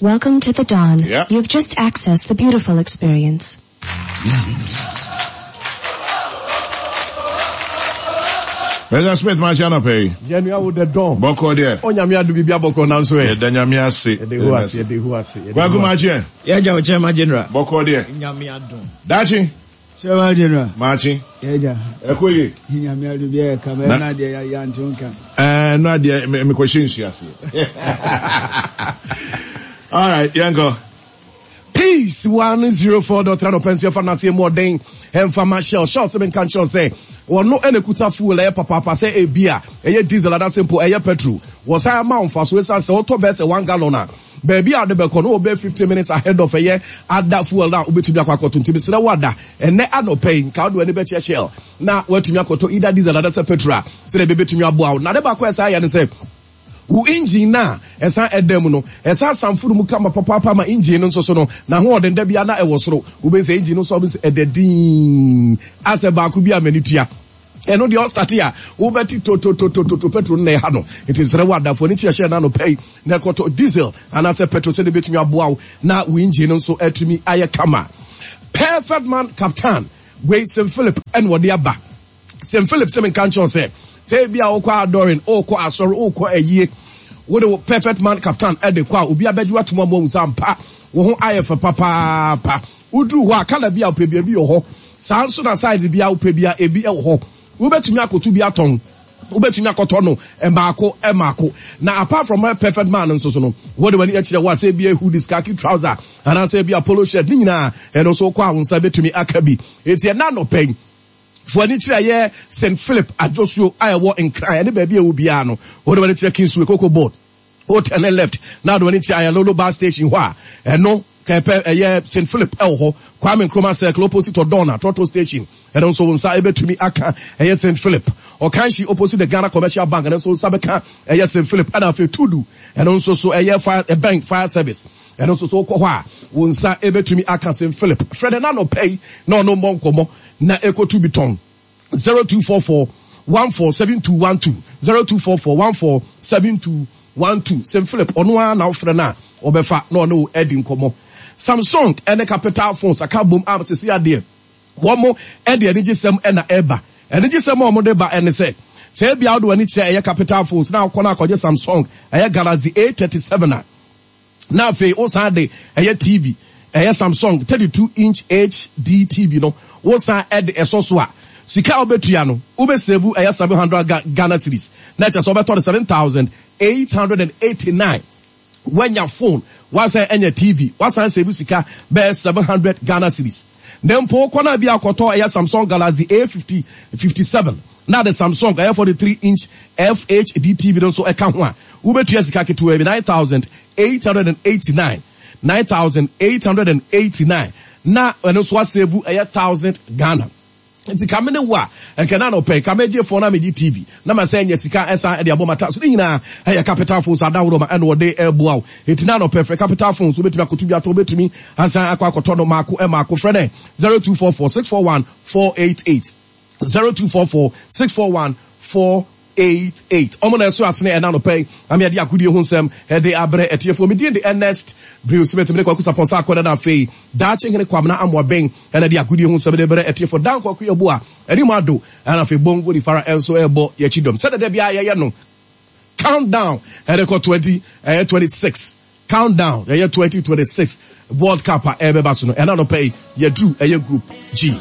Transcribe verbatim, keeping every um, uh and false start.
Welcome to the dawn. Yep. You've just accessed the beautiful experience. Mister Smith, my channel pay. Yɛnua wo the dawn. Bɔkɔ deɛ. Onyame adu bibi abɔkɔ nanso ɛ. Yɛda Nyame ase. Yɛde ho ase, yɛde ho ase. Yɛde Kwaku ho ase. Makye. Yɛgya wo Chairman General. Bɔkɔ deɛ. Nyame adom. Daakye. Chairman General. Makye. Yɛgya. Ɛkɔ yie. Nyame adu bi ɛyɛ kama Na- ɛna deɛ yɛ ante nka. Ɛɛ no adeɛ me mekɔhyɛ nsu ase. All right, yɛnkɔ. Peace one zero four dot three no pension fa na se mu ɔden ɛmfa ma Shell. Shell sɛ menka nkyerɛ sɛ wɔno ɛna kuta fuel ɛyɛ papaapa sɛ ebi a ɛyɛ diesel anaasɛ mpo ɛyɛ petrol. Wɔsan ama wo mfaso ɛsiane sɛ wotɔ bɛyɛ sɛ one gallon a baabi a wode bɛkɔ no wɔbɛyɛ fifty minutes ahead of ɛyɛ ada fuel no a wobɛtumi akɔ akɔtɔ. Nti mesrɛ wo ada ɛnɛ anɔpɛ yi nka wode w'ani bɛkyerɛ Shell na woatumi akɔtɔ either diesel anaasɛ petrol a sɛdeɛ ɛbɛbɛtumi aboa wo. Na ade baako a ɛsan yɛ ne sɛ wo engine na ɛsan ɛda mu no ɛsan sanforo mu kama papaapa ma engine no nso so no n'ahoɔden da bia na ɛwɔ soro. Wobɛhu sɛ engine no nso wobɛhu sɛ ɛda dinn asɛ baako bi a m'ani tua ɛno deɛ ɔstart a wobɛte tototototo petrol no na ɛha no. Nti nsrɛ wo adafoɔ ne kyerɛhyɛ no anɔpɛ yi na ɛkɔtɔ diesel anaasɛ petrol sɛdeɛ bɛtumi aboa wo na wo engine no nso atumi ayɛ kama. Perfect Man Captain wei Saint Philip ɛna ɔde aba. Saint Philip sɛ menka nkyerɛ sɛ sɛ ebi a wokɔ adoring, wokɔ asɔre, wokɔ ayie, wode wo Perfect Man Captain ɛde kɔ a obi abɛgye watom ama wo sɛ ampa wo ho ayɛ fɛ papaapa. Woduru hɔ a colour bi a wopɛ bi ebi wɔ hɔ, saa nso na size bi a wopɛ bi a ebi wɔ hɔ. Wobɛtumi akɔto bi atɔn, wobɛtumi akɔtɔ no mmaako mmaako. Na apart from Perfect Man nso so no wode w'ani akyerɛ wo a sɛ ebi hoodies, khaki trouser anaasɛ ebi a polo shirt ne nyinaa ɛno nso wokɔ a wo nsa bɛtumi aka bi. Eti ɛna anɔpɛ yi fo ani kyerɛ yɛ Saint Philip Adwosuo a ɛwɔ Nkran ɛne baabi a ɛwɔ biara no wode w'ani kyerɛ Kingsway Cocoa Board, hotel ne left na wode w'ani kyerɛ Ayalolo bus station hɔ a ɛno kɛpɛ ɛyɛ Saint Philip ɛwɔ hɔ. Kwame Nkrumah Circle opposite Odona Trotro station ɛno nso wo nsa ɛbɛtumi aka ɛyɛ Saint Philip. Ɔkanhyi opposite the Ghana Commercial Bank ɛno nso wo nsa bɛka ɛyɛ Saint Philip. Ɛna afei Tudu ɛno nso so ɛyɛ fire ɛbɛn fire service ɛno nso so wokɔ hɔ a wo nsa ɛbɛtumi aka Saint Philip. Frɛ ne nanɔpɛ yi na ɔno mmɔ nkɔmmɔ na ɛkɔtu bi tɔn. Zero two four four one four seven two one two, zero two four four one four seven two one two. Saint Philip ɔno ara na wofrɛ no a ɔbɛfa na ɔne wo adi nkɔmmɔ. Samsung ɛne Capital Phones aka bom a sisi adeɛ wɔn mo ɛde anigyesɛm ɛna ɛba. Anigyesɛm a wɔn de ba ɛne sɛ sɛ ebi a wode w'ani kyerɛ ɛyɛ Capital Phones na akɔ na akɔgye Samsung ɛyɛ Galaxy A thirty seven a na afei wosan de ɛyɛ T V ɛyɛ Samsung thirty two inch H D T V no wosan ɛde ɛsɔ so a sika a wobɛtua no wobɛsave ɛyɛ seven hundred Ghana cedis na kyerɛ sɛ wobɛtɔ no seven thousand eight hundred and eighty nine. Wanya phone wasan ɛnya T V wasan save sika bɛyɛ seven hundred Ghana cedis. Na mpo wokɔ na bi akɔtɔ ɛyɛ Samsung Galaxy A fifty fifty seven na de Samsung ɛyɛ forty three inch F H D T V no nso ɛka ho a wobɛtua sika ketewa bi nine thousand eight hundred and eighty nine, nine thousand eight hundred and eighty nine na ɛno nso asave ɛyɛ thousand Ghana. Nti kame ne wo a ɛnkɛ na anɔpɛ kame gye phone na megye T V na ma sɛ nya sika ɛsan ɛde abɔ mata so ne nyinaa ɛyɛ Capital Phones adaworo ma ɛna wɔde ɛboa wo. Eti na anɔpɛ frɛ Capital Phones wobɛtumi akɔto bi atɔ, wobɛtumi asan akɔ akɔtɔ no maako ɛmaako. Frɛ ne zero two four four six four one four eight eight, zero two four four six four one four eight eight. Ɔmo na ɛso asene ɛna anɔpɛ yi na me ade agodie ho nsɛm ɛde abrɛ ɛtiefoɔ. Me din de Ernest Brew Smith, me de Kwaku Sapon sa akɔda na afei daakye hene Kwabena Amoabeng ɛna de agodie ho nsɛm de brɛ ɛtiefoɔ. Dan Kwaku Yeboah ɛne mu ado ɛna afei Bongo di Fara ɛnso ɛbɔ yɛkyi dɔm sɛdeɛ dɛ bia yɛyɛ no. Countdown ɛde kɔ twenty ɛyɛ twenty six countdown ɛyɛ twenty twenty six World Cup a ɛbɛba so no ɛna anɔpɛ yi yɛduru ɛyɛ Group G.